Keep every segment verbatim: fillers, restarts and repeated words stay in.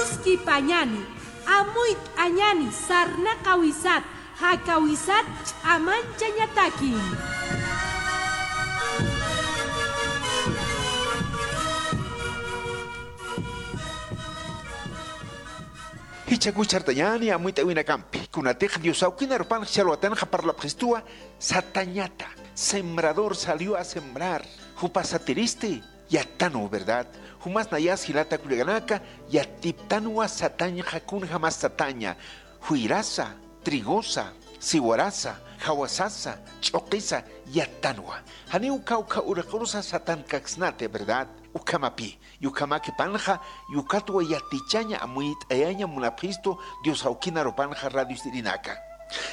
Skipañani, amuyt'añani, sarnaqawisat, jakawisat ch'amanchañataki. Jichhakuchartañani amuyt'awinakampi, kunatix Dios awkin arupanx ch'alwatanxa parlapxistuwa, satañata, sembrador salió a sembrar, jupa satiristi, yattanwa, ¿verdad? Jumas nayas jilata kullakanaka, yatiptanwa satañxa kunjamas sataña, juyrasa, trigosa, siwarasa, jawasasa, ch'uqisa, yattanwa. Janiw kawkha uraq'urusa satankaksnati, ¿verdad? Ukhamapi, yukhamaki panxa, yukatwa yatichaña amuyt'ayaña munapxistu Dios awkin arupanxa radio istirinaka.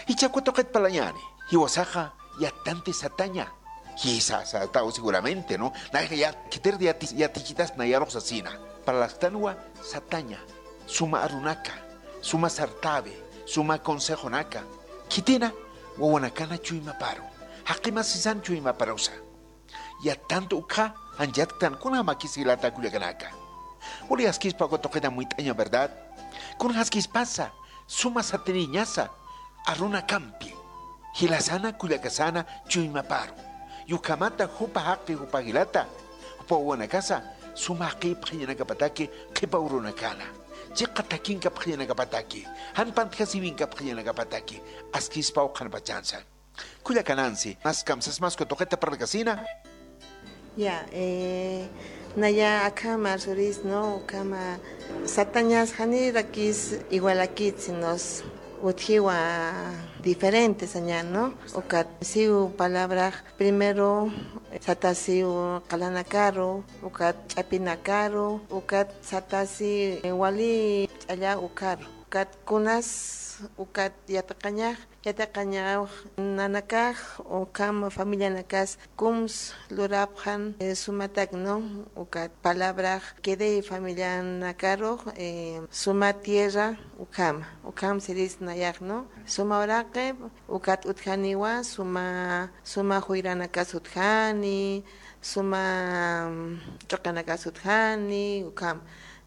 Jichhaku tuqit parlañani, jiwasaxa, yattanti sataña. Jisa, sataw seguramente, ¿no? Nayax ya, khitir yati, yatichitas nayarux sasina. Parlastanwa sataña, suma arunaka, suma sartawi, suma consejonaka. Khitina, wawanakana chuymaparu. Jaqimasisan chuymaparusa. Yattantu ukxa, janchatktan kunjamakis jilata kullakanaka. Wali askispa uka tuqita amuyt'aña, ¿verdad? Kunjaskispasa, suma satiriñasa, arunakampi, jilasana kullakasana chuymaparu. Yukhamata jupa jaqi jupa jilata, jupa wawanakasa, suma jaqipxiñanakapataki qhipa urunakana. Chiqa takinkapxiñanakapataki, jan pantjasiwinkapxiñanakapataki, askispaw qhanpachansa. Kullakanansi, mas kamsas mas uka tuqita parlkasina. Ya, eh, naya akhama arsuris, ¿no? Ukhama satañas janirakis igualakit, sino utjiwa diferente saña, ¿no? Ukat siw palabrax primero satasiw qalanakaru, ukat ch'apinakaru, ukat satasi wali ch'alla ukaru, ukat kunas, ukat yatiqañax, yatiqañax nanakax ukham familianakas kums lurapxan, eh, sumatak, ¿no? Ukat palabrax quedey familianakarux, eh, suma tierra ukhama, ukham siris nayax, ¿no? Suma uraqi, ukat utjaniwa, suma, suma juyranakas utjani, suma, mm, ch'uqinakas utjani, ukham.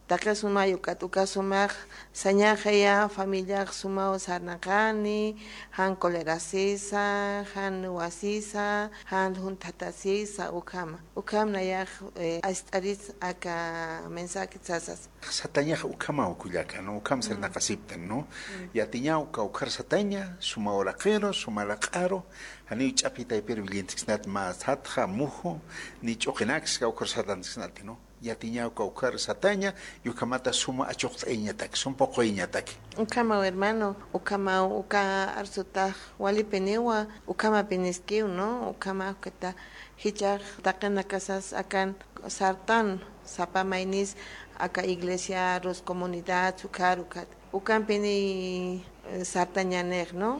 Taqi sumay ukat uka sumax sañaxaya familiax sumaw sarnaqani, jan colerasisa, jan wasisa, jan junthatasisa, ukhama. Ukham nayax, eh, ast'aris aka mensaje sasas. Satañax ukhamaw kullaka, ¿no? Ukham sarnaqasiptan, ¿no? Yatiñaw kawkhar sataña, suma uraqiru, suma laq'aru, janiw ch'apitaypir willintiksnat mä satxa, muju, ni ch'uqinaks kawkhar satantiksnati, ¿no? Yatiñaw kawkhar sataña, yukhamata suma achuqt'ayañatak, sum puquyañatak. Ukhamaw hermano, ukhamaw uka arsutax walipiniwa, ukhamapiniskiw, ¿no? Ukhamaw ukata jichhax taqinakasas akan sartan, sapa maynis aka iglesiarus, comunidad, ukhar ukat. Ukampini, eh, sartañanix, ¿no?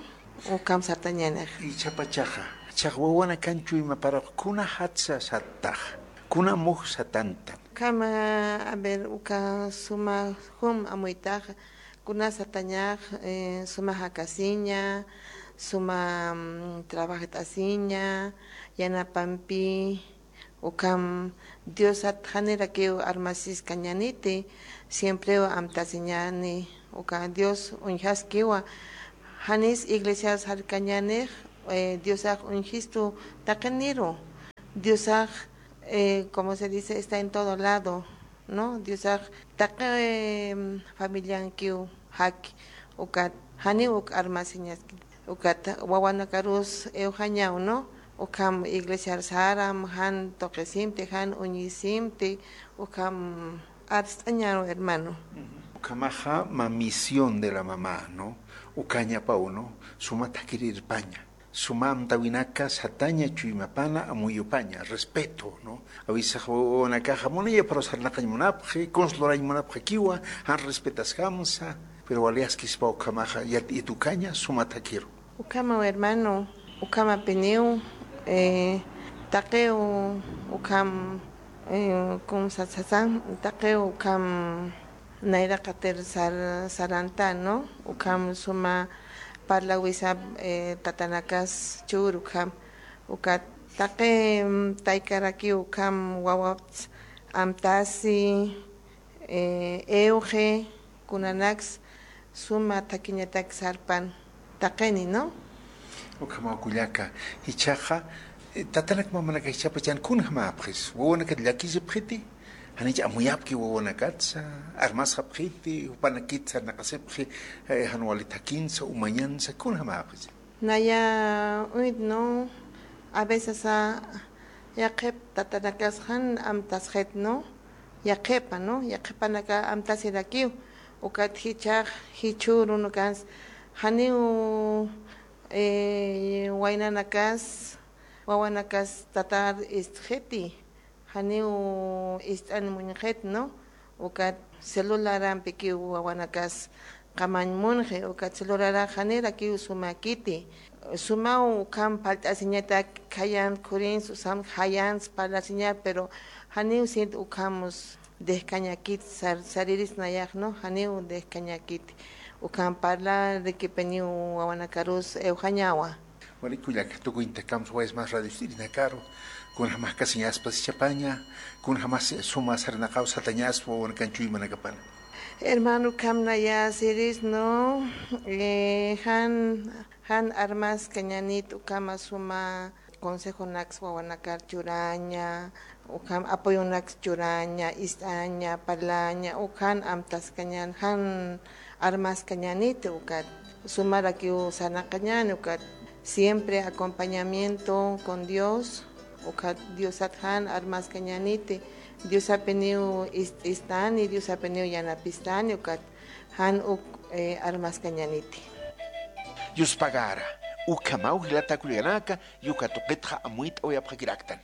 Ukham sartañanix. Jichhapachaxa, jichhax wawanakan chuymaparux kuna jatsa sattax, kuna muj satantan. Ukhama, a ver, uka suma jum amuytaxa, kuna satañax, eh, suma jakasiña, suma, mm, trabajt'asiña, yanapampi, ukham Diosat janirakiw armasiskañaniti, siemprew amtasiñani, uka Dios uñjaskiwa, janis iglesiar sarkañanix, eh, Diosax uñjistu taqiniru, Diosax, eh, como se dice, está en todo lado, ¿no? Diosax taqi, em, familiankiw jaki, ukat janiw uk armasiñaski. Ukat wawanakarus iwxañaw, ¿no? Ukham iglesiar saram, jan tuqisimti, jan uñisimti, ukham arst'añaru, hermano. Ukhamaxa mä misión de la mamá, ¿no? Ukañapaw, ¿no? Suma thakirirpaña. Suma amtawinaka sataña chuymapana amuyupaña, respeto, ¿no? A veces wawanakaxa munayapxaru sarnaqañ munapxi, kuns lurañ munapxakiwa, jan respetaskamsa, pero wali askispa ukhamaxa yat-, yatukaña suma thakiru. Ukhamaw hermano, ukhamapiniw, eh, taqiw ukham, eh, kum sasasa, taqiw ukham nayraqatir sar-, saranta, ¿no? Ukham suma parlawisap, eh, tatanakas chur ukham. Ukat taqi, mm, taykarakiw ukham wawapts amtasi, eh, iwxi, Kunanaks suma thakiñatak sarpan taqini, ¿no? Ukhamaw kullaka, jichhaxa, eh, tatanak mamanaka jichhapachan kunjamäpxis, wawanakat llakisipxiti, janich amuyapki wawanakatsa, armasxapxiti, jupanakit sarnaqasipxi, eh, jan wali thakinsa, umañansa, kunjamäpxis. Naya uñit, ¿no? A veces a yaqhip tatanakas jan amtasxit, ¿no? Yaqhipa, ¿no? Yaqhipanaka amtasirakiw. Ukat jichhax, jichhürunakans, janiw, eh, waynanakas, wawanakas tatar istxiti. Janiw ist'an muñxit, ¿no? Ukat celularampikiw wawanakas qamañ munxi, ukat celularax janirakiw sumakiti. Sumaw ukham phalt'asiñatak, khayan khurins, usam jayans parlasiñar, pero janiw sint ukhamus dejkañakit, sar-, sariris nayax, ¿no? Janiw dejkañakit. Ukham parlarikipiniw wawanakarus ewjañawa. Wali kullaka, tukuyntakams waysmas radio ist'irinakaru, kunjamas kasiñaspas jichhapaña, kunjamas suma sarnaqaw satañaspa wawanakan chuymanakapana. Hermano, ukham naya siris, ¿no? Eh, jan, jan armaskañanit ukhama suma consejonaks wawanakar churaña, ukham apoyonaks churaña, ist'aña, parlaña, ukan amtaskañan, jan armaskañaniti ukat. Sumarakiw sarnaqañani ukat. Siempre acompañamiento con Dios, ukat Diosat jan armaskañaniti. Diosapiniw ist-, ist'ani, Diosapiniw yanapistani ukat. Jan uk, eh, armaskañaniti. Yuspagara, ukhamaw jilata kullakanaka, uka tuqitxa amuyt'awayapxakiraktan.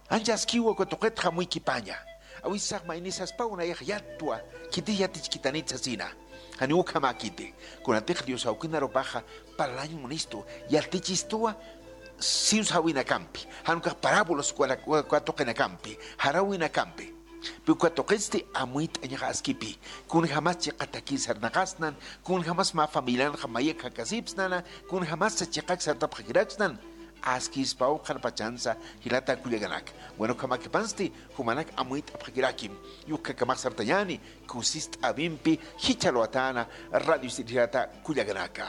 Ancha askiwa uka tuqitxa amuykipaña. Awisax maynisaspaw nayax yatwa, khitix yatichkitanit sasina. Janiw ukhamäkiti, kunatix Dios awkinarupaxa parlañ munistu, yatichistuwa siwsawinakampi, jan ukax parábolas uka, uka tuqinakampi, jarawinakampi. Pi uka tuqitsti amuyt'añax askipi, kunjamas chiqatakir sarnaqasnan, kunjamas mä familianxa mayakx jakasipsnana, kunjamas chiqak sartapxakiraksnan, askispaw qhanpachansa jilata kullakanaka. Bueno, ukhamakipansti jumanak amuyt'apxakirakim, ukhakamx sartañäni, kusist'awimpi jichhalwatäna radio ist'ir jilata kullakanaka.